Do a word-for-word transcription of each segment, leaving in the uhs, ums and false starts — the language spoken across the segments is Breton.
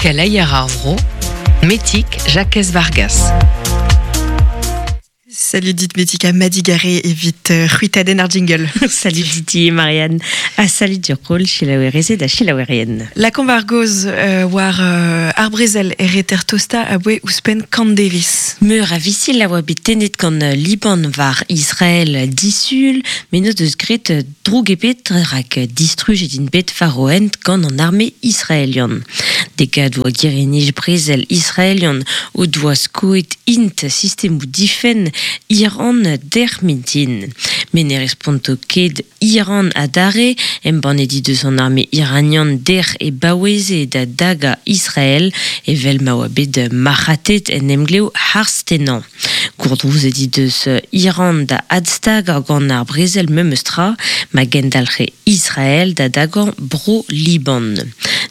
Keleier ar vro, Metig Jakez Vargas. Salut dit Metika Madigaré evit c'hwitadenn ar jingle. Salut Didi et Marianne. Ah salut du rôle chilaouerezed ha chilaouerien. La konvargoz euh, war euh, ar brezel er eter tosta a boe ouzhpenn kant devis. Meur a visil a oa bet tennet gant Liban war Israël disul, met n'o deus graet droug ebet rak distrujet int bet faroent gant an arme israelian. Degad oa girenij brezel israelian o doa skoet int sistemou difenn Iran der mintin. Met ne responto ket Iran adare, embannet he deus an arme iranian der e baoueze da daga Israël, evel ma oa bet marc'hatet en emglev harz-tennañ. Gourdrouzet he deus Iran da adstag gant ar brezel memes tra, ma gendalc'he Israël da dagañ bro Liban.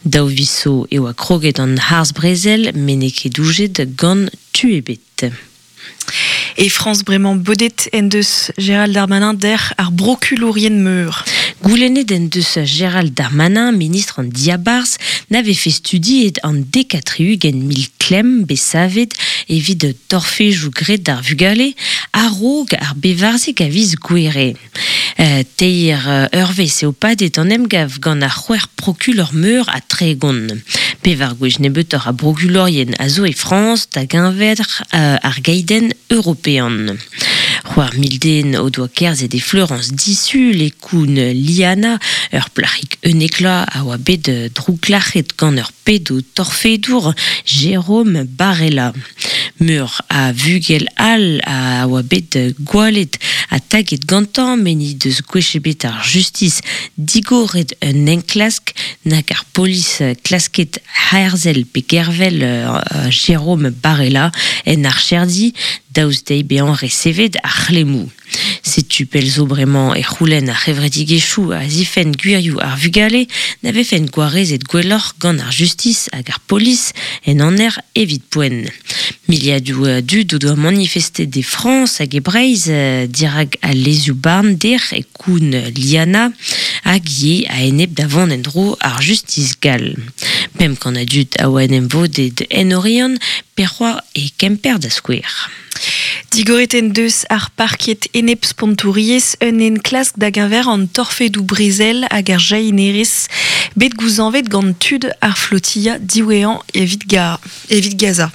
Daou viz zo e oa kroget an harz brezel, met n'eo ket doujet gant tu ebet. E Frañs bremañ bodet en deus Gérald Darmanin der ar brokulourien meur. Goulennet en deus Gérald Darmanin, ministr an diabarzh, na vefe studiet an dek ha tri-ugent mil klemm bet savet evit torfejoù graet d'ar vugale a-raok ar bevarzek a viz Gouhere. Euh, teir eurvezh eo padet an emgav gant ar c'hwec'h prokulor meur ha tregont. Pevar gwech nebeutoc'h a brokulorien a zo e Frañs da geñver euh, ar gaidenn european. C'hwec'h mil den o doa kerzhet e Fleurance disul e koun Liana, ur plac'hig unnek vloaz a oa bet drouklac'het gant ur pedo torfedour Jérôme Barella. Meur a vugel all a oa bet gwallet ha taget gantañ met n'he deus gwech ebet ar justis digoret un enklask nag ar polis klasket herzel pe gervel euh, Jérôme Barella en archerdi daoust dezhi bezañ resevet ar c'hlemmoù. Setu pell zo bremañ e c'houlenn ar c'hevredigezhioù a zifenn gwirioù ar vugale na vefent gwarezet gwelloc'h gant ar justis hag ar polis en aner evit poent. Miliadoù a dud o doa manifestet e Frañs hag e Breizh dirak al lezioù-barn dec'h e koun Liana hag ivez a-enep da vont en-dro ar justis gall. Pemp kant a dud a oa en em vodet en Oriant, pe c'hoazh e Kemper da skouer. Digoret en deus ar parket enep spontouriezh un enklask da geñver an torfedoù brezel hag ar jahinerezh bet gouzañvet gant tud ar flotilla diwezhañ evit, ga, evit Gaza.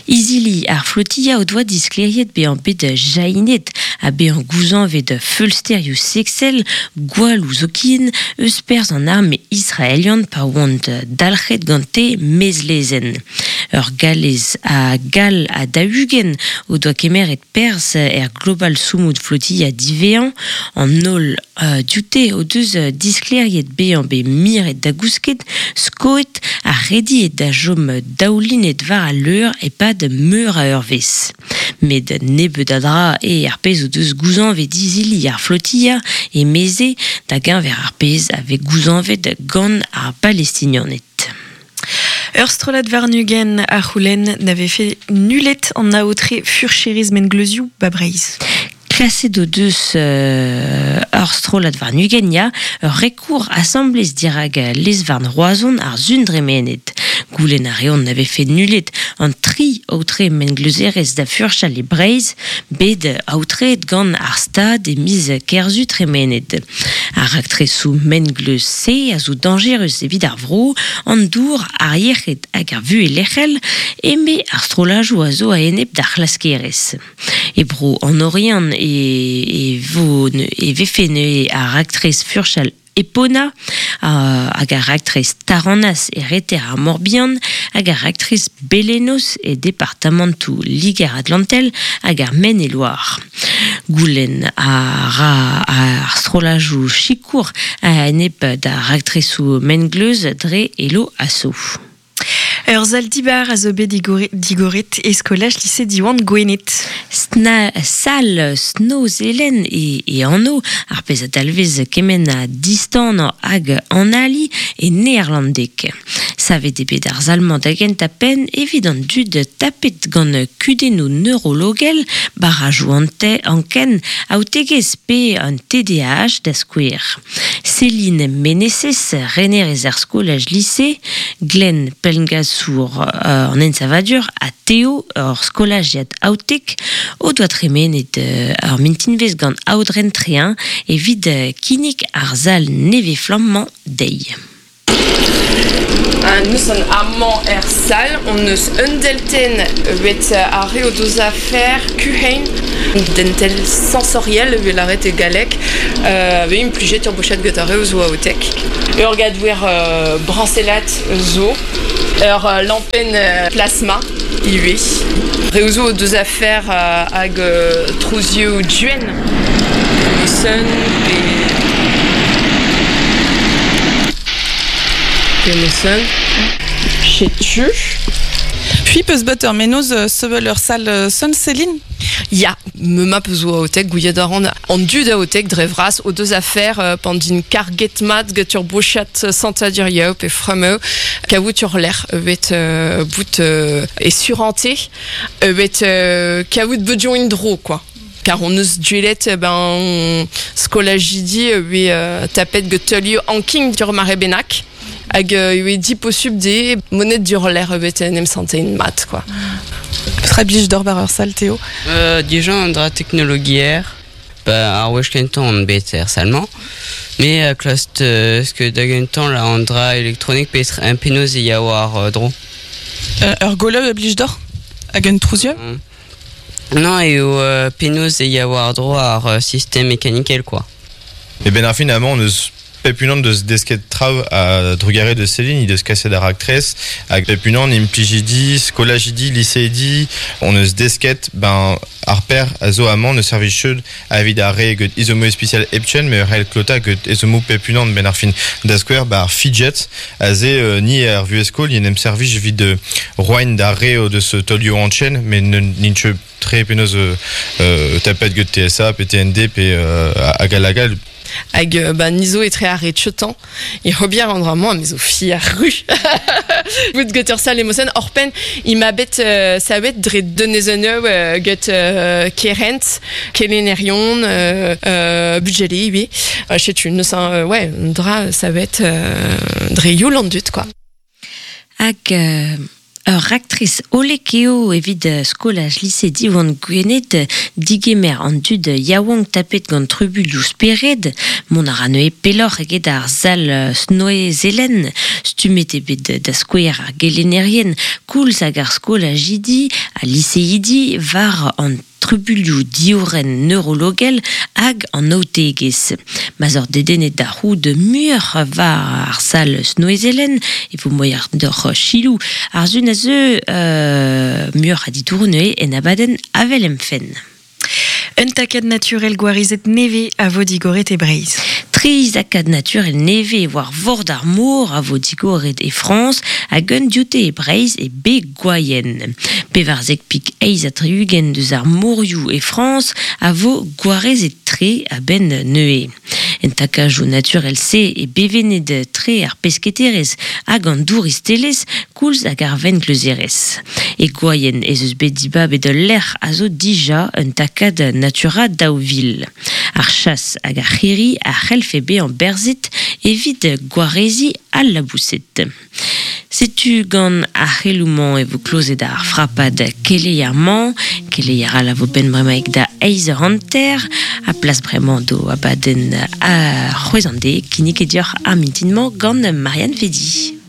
Izili ar flotilla o doa disklêriet bezañ bet jahinet ha bezañ gouzañvet feulsterioù seksel gwalloù zoken eus perzh an arme israelian pa oant dalc'het gante maez-lezenn. Ur Gallez ha Gall ha daou-ugent o doa kemeret perzh er Global Sumud Flotilla diwezhañ an holl uh, dioute o deus disklêriet bezañ bet miret da gousket, skoet ha rediet da chom daoulinet war al leur e-pad meur a eurvezh. Met nebeut a dra eo ar pezh o deus gouzañvet izili ar flotilla emeze da geñver ar pezh a vez gouzañvet gant ar Balestinianed. Ur strollad warn-ugent a c'houlenn na vefe nullet an aotre furcherezh mengleuzioù ba Breizh. Kaset o deus euh, ur strollad warn-ugent ya, ur rekour asambles dirak lez-varn Roazhon ar sun dremenet. Goulenn a reont na vefe nullet an tri aotre mengleuzerezh da furchal e Breizh, bet aotreet gant ar Stad e miz Kerzu tremenet. Ar raktresoù mengleuz-se a zo dañjerus evit ar vro, an dour, ar yec'hed hag ar vuhez lec'hel, eme ar strollajoù a zo a-enep d'ar c'hlaskerezh. E bro an Oriant e, e, vo, e vefe neuze ar raktres furchal Epona, hag ar raktres Taranas e reter ar Morbihan, hag ar raktres Belenos e departamantoù Liger-Atlantel hag ar Maine-et-Loire. Goulenn a ra ar strollajoù sikour a-enep d'ar raktresoù mengleuz dre HelloAsso. Ur sal dibar a zo bet digoret e skolaj lise Diwan Gwened. Sna, sal Snoezelen e, e anv, ar pezh a dalvez kement ha distan hag analiñ e neerlandeg. Savet eo bet ar sal-mañ da gentañ penn evit an dud tapet gant kudennoù neurologel, barrajoù anken, aotegezh pe an T D A H da skouer. Céline Meneses, renerez ar skolaj lise, Glenn Pelgasour euh, an ensavadur ha Théo ur skolajiad aotek o doa tremenet euh, ar mintinvez gant aodren trein evit kinnig ar sal nevez-flammañ dezhi. Nous an amañ er sal, on eus un delten bet ar re o deus afer kuhein, dentel sensoriel vel aret e galek, euh, ve implijet ur bochet get ar re o zo aotek. Ur gadouer euh, brancelat zo, ur euh, lampen euh, plasma ivez. Re o zo o deus afer euh, hag euh, trouzioù duen, sun pe... Pemosen, chetu. Puis peus bet ur menoz sevel ur sal son Céline? Ya, me ma peus o aotek, gouiet a ran an dud aotek dre vras o deus afer euh, pandin karget mat get ur bochat santadur yao pe fremeu kaout ur lec'h evet euh, bout euh, e surante evet euh, kaout bedion indro quoi. Car on eus duelet ben skolajidi e euh, tapet get teulio anking dur mare benak. Hag euh, di posub de monet dur l'air bet en em santein mat quoi. Petra blij d'or bar ur sal Théo? Euh, Dija an dra teknologier, ba ar wech kentañ an bet er salmañ. Me a klast euh, ce que da gentañ la an dra elektronik pe un penoz e ya war euh, dro. Euh, ur goleu a blij d'or? Hag un trouzioù? Mm. Non, eo euh, penoz e ya war dro ar euh, système mekanikel quoi. E ben ar fin amañ on eus Pepunan deus desket trav a drugare de Céline, deus kaset ar aktrez, hag Pepunan implijidi, skolajidi, liseidi, on eus desket, ben ar per a zo amañ ne servij cheud evit ar re get izomo spécial epchen, me rel klota get izomo Pepunan ben ar fin da skouer ba ar fidget, a ze euh, ni ar vueskol, ni nem servij evit de roain d'ar re deus tolio anchen, mais n'inche tre penoz euh, euh, tapet get T S A, P T N D, pe euh, hag alagal. Hag ba nizo etre ar re tchetan, e hobier an dra mañ, mezo fi ar ru. Bout get ur sal emosen, orpen, i ma bet euh, sa bet dre denezeneu euh, get euh, kerent, kelenerion, euh, euh, budgele, oui. Euh, chetu, neus an, euh, ouais, dra sa bet euh, dre youl an dut, quoi. Hag... Euh... Ur aktriz olekeo evit skolaj lise Diwan Gwened digemer an dud yaouank tapet gant trubulioù spered, mont a ra neue peloc'h eget ar sal snoe zelen, stumet eo bet da skouer ar gelennerien, koulz hag ar skolajidi ha liseidi war an trubulioù dioren neurologel hag an aotegezh. Ma'z ur dedennet da c'houd muioc'h war ar sal snoezelen, e vo moiar d'ur chilou ar zun a zeu euh, muioc'h a ditour neue en abadenn avel em fenn. Un takad naturel gwarizet neve a vo digoret e Breizh. Tri takad naturel neve war vord ar mor a vo digoret e Frañs hag un dioute e Breizh e be gwaien. Pevarzek pik eiz ha tri-ugent deus ar morioù e Frañs a vo gwarezet tre a-benn neue. En takajoù naturel se e bevennet tre ar pesketerez hag an douristelez koulz hag ar vengleuzerez. E gwaien ez eus bet dibabet ul lec'h a zo dija un takad natura daou vil. Ar chas hag ar c'hirri a c'hellfe bezañ berzet evit gwarezi al labouset. Setu gant ar c'heloù-mañ e vo klozet ar frapad keleier-mañ, keleier all a vo benn bremaik da eiz eur hanter, a plas bremañ do abadenn a c'hwezh an de, kinnig e dioc'h ar mintin-mañ gant Marianne Fedi.